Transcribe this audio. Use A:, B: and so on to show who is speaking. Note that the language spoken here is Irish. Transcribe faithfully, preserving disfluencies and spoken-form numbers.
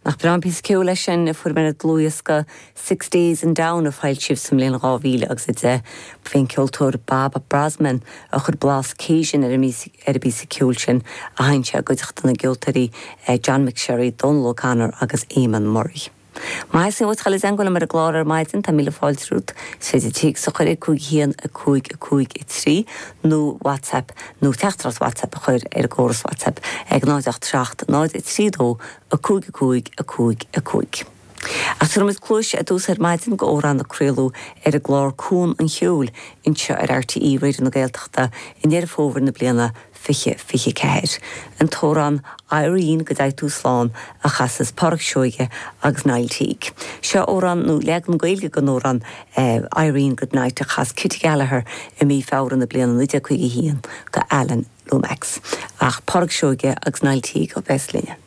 A: Nach breá an píosa ceoil é sin a fuair mé ar dlúthdhiosca Six Days in Down a foilsíodh sa mbliain dhá mhíle agus a deich b'é an ceoltóir Bob Brozman a chuir blas Cajun ar an ar an bpíosa ceoil sin a sheinn sé i gcuideachta na gceoltóirí John McSherry, Donal O'Connor agus Eamon Murray. Má sin bhfuil le mar a glár ar maidin tá míle fáilte romhat is féidir téacs a chur cúig haon a cúig a cúig a trí nó WhatsApp nó teachtaireacht WhatsApp a chur ar an gcóras WhatsApp ag náid ocht seacht náid a trí dó a cúig a cúig a cúig a cúig. Ach tabharfaimid cluas ar dtús ar maidin go amhrán a craoladh ar an gclár Cuan an Cheoil anseo ar RTÉ Raidió na Gaeltachta i nDeireadh Fómhair na bliana fiche fiche ceathair. An t-amhrán Irene go dtí tú slán a chas Pádraic Seoige agus Niall Teague. Seo amhrán nó leagan Gaeilge den amhrán Irene Goodnight a chas Kitty Gallagher i mí Feabhra na bliana naoi déag caoga haon go Alan Lomax. Ach Pádraic Seoige agus Niall Teague a bheas linne.